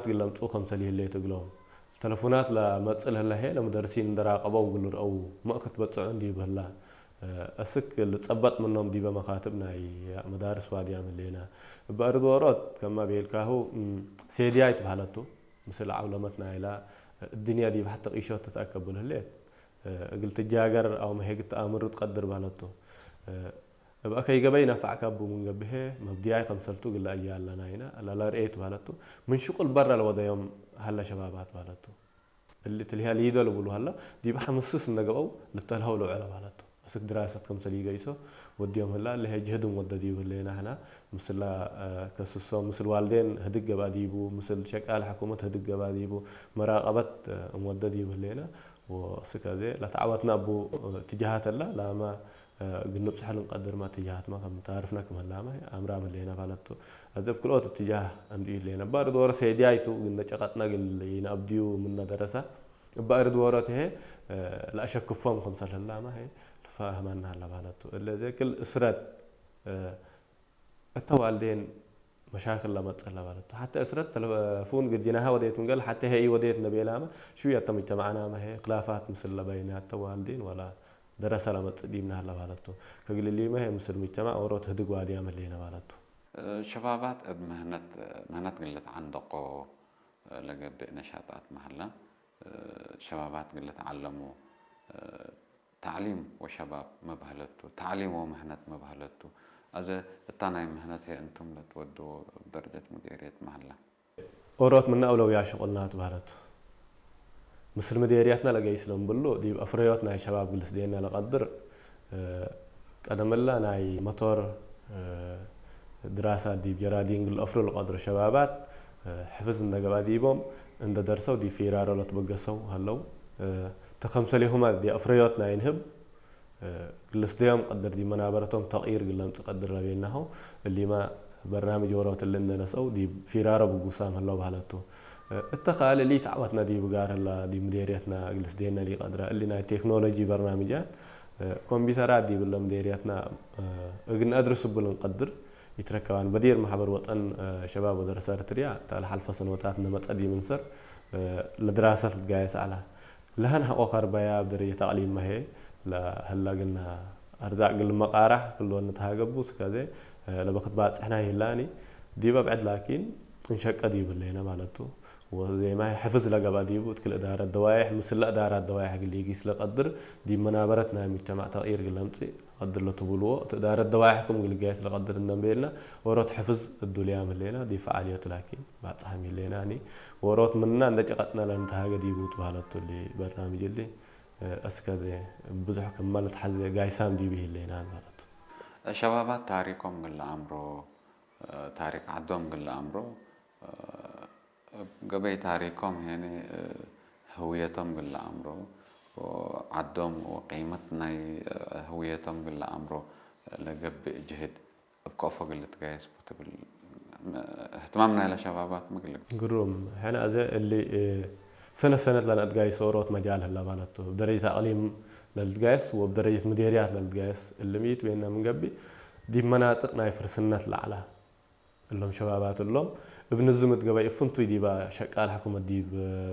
ግለምጹ ከምሰል ይህለ ትግሎም ተለፉናት ለመጽእ ለህላ ሄ ለምደርሲን እንደራቀበው ግልርአው መእክት በጽዑ እንዲ ይብህላ እስክ ልጸበጥ ምኖም ዲበ መካትብ ናይ መዳርስ ዋድያ ምሌና እበ ኣርድ ወሮት ከማ ቤልካሁ ሴድያ ይትበሃለቱ ምስል ዓውለመት ናይላ እድንያ ዲብ ሓተ ቂሾት ትትኣከብል ህሌት እግል ትጃገር ኣው መሄግ ተኣምሩ ትቀድር ባለቱ እብ ኣከይ ገበይ ነፋዕካ ቡ ምን ገብሄ መብድያይ ከምሰልቱ ግላ እያ ኣለና ኢና ለለርኤት ባለቱ ምን ሽቁል በረ ለወደዮም ሀለ ሸባባት ባለቱ እሊ ትልያ ሊዶ ልብሉ ሀላ ዲብ ሓምስስ እንደገበው ልተልሀው ልውዕለ ባለቱ እስክ ድራሰት ከምሰል ይገይሶ ወዲዮም ህላ ለሄ ጅህድም ወደ ዲብ ህሌና ሕና ምስላ ከስሶ ምስል ዋልዴን ህድግ ገባ ዲቡ ምስል ሸቃል ሕኩመት ህድግ ገባ ዲቡ መራቀበት እምወደ ዲብ ህሌና ወስከዜ ለተዓወትና ቡ ትጃሃት ላ ላማ ግንብጽሖ ልንቀድር ማ ትጃሃት ማ ከም ታርፍና ክም ህላማ ኣምራ ምሌና ባለቱ እዚ ብ ክልኦት ትጃህ እንዲ ይሌና ባር ዶረ ሴዲያይቱ ግነ ጨቀጥና ግል ይናብዲዩ ምና ደረሳ እባ እርድ ወሮት ሄ ለአሸክፎም ከም ሰልህላማ ሄ ልፋህማና ሀላ ባለቱ እለ ዘክል እስረት እተ ዋልዴን መሻክል ለመጸ ለባለቱ ሓተ እስረት ተለፉን ግዲናሃ ወዴት ምንገል ሓተ ሄይ ወዴት ነቤላማ ሽው ያተ ሙጅተማዕናማ ሄ ክላፋት ምስል ለበይናተ ዋልዴን ወላ ደረሰ ለመጽ ዲምና ለባለቱ ከግልሊመ ሄ ምስል ሙጅተማዕ ወሮት ህድግ ዋድያ መሌነ ባለቱ ሸባባት እብ ምህነት ምህነት ግልት ዓንደቆ ለገብእ ነሻጣት መሀላ ሸባባት ግልት ዓለሙ ታዕሊም ወሸባብ መብሀለቱ፣ ታዕሊም ወምህነት መብሀለቱ። አዘ እታ ናይ ምህነት ህየ እንቱም ለትወድዎ እብ ደረጀት ሙዴርየት መሀላ። ኦሮት ምነ አውለውያ ሽቁልና ትበህለት። ምስል ምዴርያትና ለገይስ ለንብሉ፣ ዲብ አፍረዮት ናይ ሸባብ ግልስዴና ለቀድር፣ ቀደምላ ናይ መቶር ድራሳ ዲብ ጀራዲን ግል አፍሩ ለቀድሩ ሸባባት ሕፍዝ እንደ ገብአ ዲቦም እንደ ደርሰው ዲብ ፊራሮ ለትበገሰው ሀለው። ተከምሰሌሁማ ዲብ አፍረዮት ናይ ንህብ ግልስደዮም ቀድር ዲብ መናበረቶም ተቅይር ግለምጽ ቀድር ለቤናሆ እሊማ በርናምጅ ወሮት እሊ እንደ ነሰው ዲብ ፊራሮ ብጉሳም ሀለው በህለቱ። እተ ካልእ ሊ ተዕወትና ዲብ ጋር ህላ ዲብ ምዴርየትና ግልስዴና ሊ ቀድራ እሊ ናይ ቴክኖሎጂ በርናምጃት ኮምፒተራት ዲብ እለ ምዴርያትና እግን አድርስ እብል እንቀድር ይትረከባን በዲር ማሕበር ወጠን ሸባብ ወደረሰ እርትርያ እታ ለሓልፈ ሰነወታት እነመጸ ዲምንሰር ለድራሰት ልትጋየስ አላ። ለሀን ሐቆ ከርባያ ኣብ ደረጀት አቅሊም መሄ ለህላ ግና አርዛቅ ግል መቃራሕ ክልወን ንትሃገቡ ስከዜ ለበክት ባጽሕና ይህላኒ ዲብ አብዕድ ላኪን እንሸቀ ዲብ ህሌነ ማለቱ ወዜማ ሕፍዝ ለገብአ ዲቡ እት ክል እዳረት ደዋይሕ ምስለ እዳራት ደዋይሕ ግል ይጊስ ለቀድር ዲብ መናበረት ናይ ሙጅተማዕ ተቅይር ግል ለምጽእ ቀድር ለትብልዎ እት እዳረት ደዋይሕ ክም ግል ጋየስ ለቀድር እንደንቤልና ወሮት ሕፍዝ እዱልያም ህሌና ዲብ ፈዓልዮት ላኪን ባጽሓም ይህሌናኒ ወሮት ምንና እንደ ጨቀጥና ለንተሃገ ዲቡ ትባህለቱ እሊ በርናምጅ እሊ እስከ ዘ ብዙሕ ክመ ልትሓዘ ጋይሳም ዲብ ይህሌና ማለቱ። ሸባባት ታሪኮም ግለ አምሮ ታሪክ ዓዶም ግለ አምሮ ገበይ ታሪኮም ሄኒ ህውየቶም ግለ አምሮ ዓዶም ወቂመት ናይ ህውየቶም ግለ አምሮ ለገብእ ጅህድ እብ ከፎ ግል ትጋየስ ቡ ትብል ህትማም ናይለ ሸባባት ምግል። ግሩም። ሕነ አዘ እሊ ሰነት ሰነት ለነትጋይስ ኦሮት መጃል ህላ ማለቱ። እብ ደረጀት አቅሊም ለልትጋየስ ወእብ ደረጀት ምዴርያት ለልትጋየስ እሊ ምይት ቤና ምን ገብእ ዲብ መናጥቅ ናይ ፍርስነት ለዐላ እሎም ሸባባት እሎም እብ ንዝም እት ገበይ እፍንቱይ ዲባ ሸቃል ሕኩመት ዲብ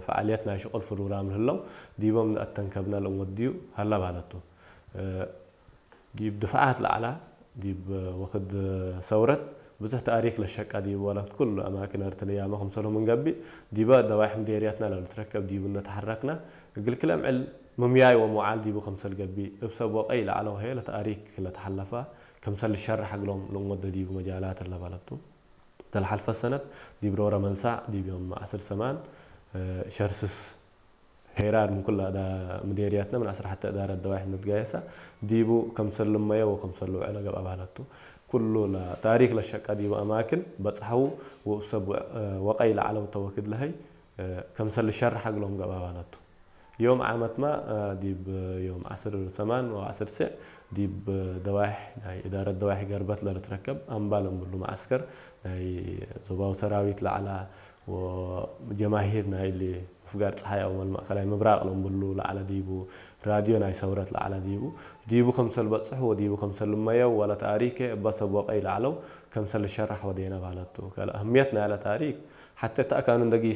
ፈዓልየት ናይ ሽቁል ፍሩራም ለህለው ዲቦም ንአተንከብና ለእንወድዩ ሀላ ማለቱ። ዲብ ድፍዓት ለዐላ ዲብ ወክድ ሰውረት ብዙሕ ተእሪክ ለሸቃ ዲብ ወለት ኩሉ አማክን እርትርያመ ክምሰልሁም እንገብእ ዲበ ደዋይሕ ምዴርያትና ለልትረከብ ዲቡ እነተሐረክና እግል ክለ ምዕል ምምያይ ወምውዓል ዲቡ ክምሰል ገብእ እብ ሰብ ወቀይ ለዐለ ወሀየ ለተእሪክ ለተሐለፋ ክምሰል ልሸርሕ እግሎም ለእንወደ ዲቡ መጃላት እለ በለቱ። ተልሓልፈ ሰነት ዲብ ሮረ መንሳዕ ዲብ ዮም ዐስር ሰማን ሸርስስ ሄራር ምን ኩላ እዳ ምዴርያትና ምን ዐስር ሐተ እዳረት ደዋይሕ ንትጋየሳ ዲቡ ከምሰል ልመየ ወከምሰል ልውዕለ ገብአ ባህለቱ። ኩሉ ለታሪክ ለሸቀ ዲቡ አማክን በጽሐው ወእብ ሰብ ወቀይ ለዐለው ተወክድ ለሀይ ከምሰል ልሸርሕ እግሎም ገብአ ባህለቱ። ዮም ዓመትማ ዲብ ዮም ዐስር ሰማን ወዐስር ስዕ ዲብ ደዋይሕ ናይ እዳረት ደዋይሕ ገርበት ለልትረከብ አምባል እምብሉ መዓስከር ናይ ዞባዊ ሰራዊት ለዐላ ወጀማሂር ናይ እሊ ምፍጋር ጸሓይ አው ማእከላይ ምብራቅ ለምብሉ ለዐለ ዲቡ ራድዮ ናይ ሰውረት ለዐለ ዲቡ ዲቡ ከምሰል በጽሑ ወዲቡ ከምሰል ልመየው ወለ ታሪከ እበ ሰብ ወቀይ ለዐለው ከምሰል ልሸራሕ ወዴነ ባለቱ። ከለ አህምየት ናይለ ታሪክ ሐቴ ተአካኑ እንደጊ